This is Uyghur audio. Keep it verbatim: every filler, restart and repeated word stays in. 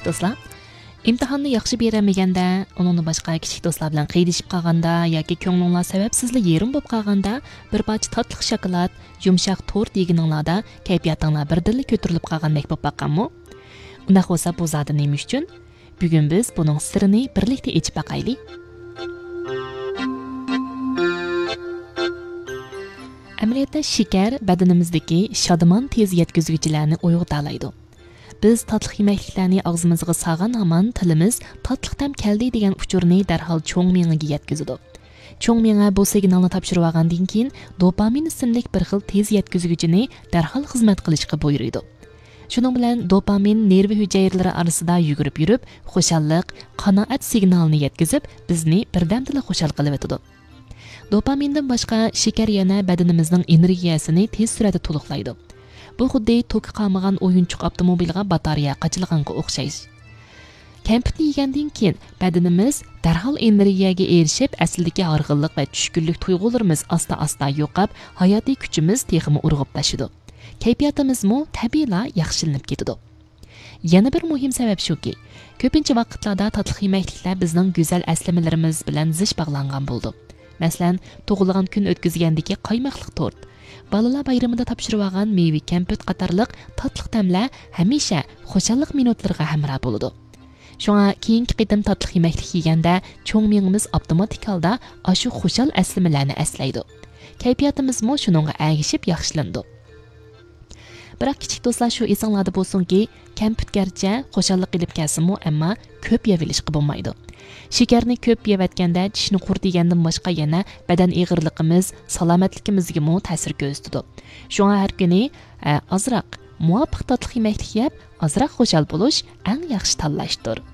دوستلار، ئىمتىھاننى ياخشى بېرەلمىگەندە، ئۇنىڭدىن باشقا كىچىك دوستلار بىلەن قىينىشىپ قالغاندا ياكى كۆڭلۈڭلار سەۋەبسىزلا يېرىم بولۇپ قالغاندا، بىر پارچە تاتلىق شاكىلات، يۇمشاق تورت يېگىنىڭلاردا كەيپىياتىڭلار بىردىنلا كۆتۈرۈلۈپ قالغاندەك بولۇپ باققانمۇ؟ ئۇنداق بولسا، بۇ زادى نېمە ئۈچۈن؟ بۈگۈن بىز بۇنىڭ سىرىنى بىرلىكتە ئېچىپ باقايلى. ئەمەلىيەتتە، شېكەر بەدىنىمىزدىكى شادىمان تېز يەتكۈزگۈچىلەرنى ئويغىتالايدۇ. بىز تاتلىق يېمەكلىكلەرنى ئاغزىمىزغا سالغان ھامان تىلىمىز تاتلىق تەم كەلدى دېگەن ئۇچۇرنى دەرھال چوڭ مېڭىگە يەتكۈزىدۇ. چوڭ مېڭە بۇ سىگنالنى تاپشۇرۇۋالغاندىن كېيىن، دوپامىن ئىسىملىك بىر خىل تېز يەتكۈزگۈچىنى دەرھال خىزمەت قىلىشقا بۇيرۇيدۇ. شۇنىڭ بىلەن دوپامىن نېرۋا ھۈجەيرىلىرى ئارىسىدا يۈگۈرۈپ يۈرۈپ، خۇشاللىق، قانائەت سىگنالىنى يەتكۈزۈپ، بىزنى بىردەمدىلا خۇشال قىلىۋېتىدۇ. دوپامىندىن باشقا، شېكەر يەنە بەدىنىمىزنىڭ ئېنېرگىيەسىنى تېز سۈرئەتتە تولۇقلايدۇ. بۇ خۇددى توكى قالمىغان ئويۇنچۇق ئاپتوموبىلغا باتارېيە قاچىلىغانغا ئوخشاش. كەمپۈتنى يېگەندىن كېيىن، بەدىنىمىز دەرھال ئېنېرگىيەگە ئېرىشىپ، ئەسلىدىكى ھارغىنلىق ۋە چۈشكۈنلۈك تۇيغۇلىرىمىز ئاستا-ئاستا يوقاپ، ھاياتىي كۈچىمىز تېخىمۇ ئۇرغۇپلىشىدۇ. كەيپىياتىمىزمۇ تەبىئىيلا ياخشىلىنىپ كېتىدۇ. يەنە بىر مۇھىم سەۋەب شۇكى، كۆپىنچە ۋاقىتلاردا تاتلىق يېمەكلىكلەر بىزنىڭ گۈزەل ئەسلىمىلىرىمىز بىلەن زىچ باغلانغان بولىدۇ. مەسىلەن، تۇغۇلغان كۈن ئۆتكۈزگەندىكى قايماقلىق تورت، بالىلار بايرىمىدا تاپشۇرۇۋالغان مېۋە كەمپۈت قاتارلىق تاتلىق تەملەر ھەمىشە خۇشاللىق مىنۇتلىرىغا ھەمراھ بولىدۇ. شۇڭا كېيىنكى قېتىم تاتلىق يېمەكلىك يېگەندە، چوڭ مېڭىمىز ئاپتوماتىك ھالدا ئاشۇ خۇشال ئەسلىمىلەرنى ئەسلەيدۇ. كەيپىياتىمىزمۇ شۇنىڭغا ئەگىشىپ ياخشىلىنىدۇ. بىراق، كىچىك دوستلار، شۇ ئېسىڭلاردا بولسۇنكى، كەمپۈت گەرچە خۇشاللىق ئېلىپ كەلسىمۇ، ئەمما كۆپ يەۋېلىشقا بولمايدۇ. شېكەرنى كۆپ يەۋەتكەندە، چىشنى قۇرۇتىدىغاندىن باشقا، يەنە بەدەن ئېغىرلىقىمىز، سالامەتلىكىمىزگىمۇ تەسىر كۆرسىتىدۇ. شۇڭا ھەر كۈنى، ئە، ئازراق مۇۋاپىق تاتلىق يېمەكلىك يەپ، ئازراق خۇشال بولۇش ئەڭ ياخشى تاللاشتۇر.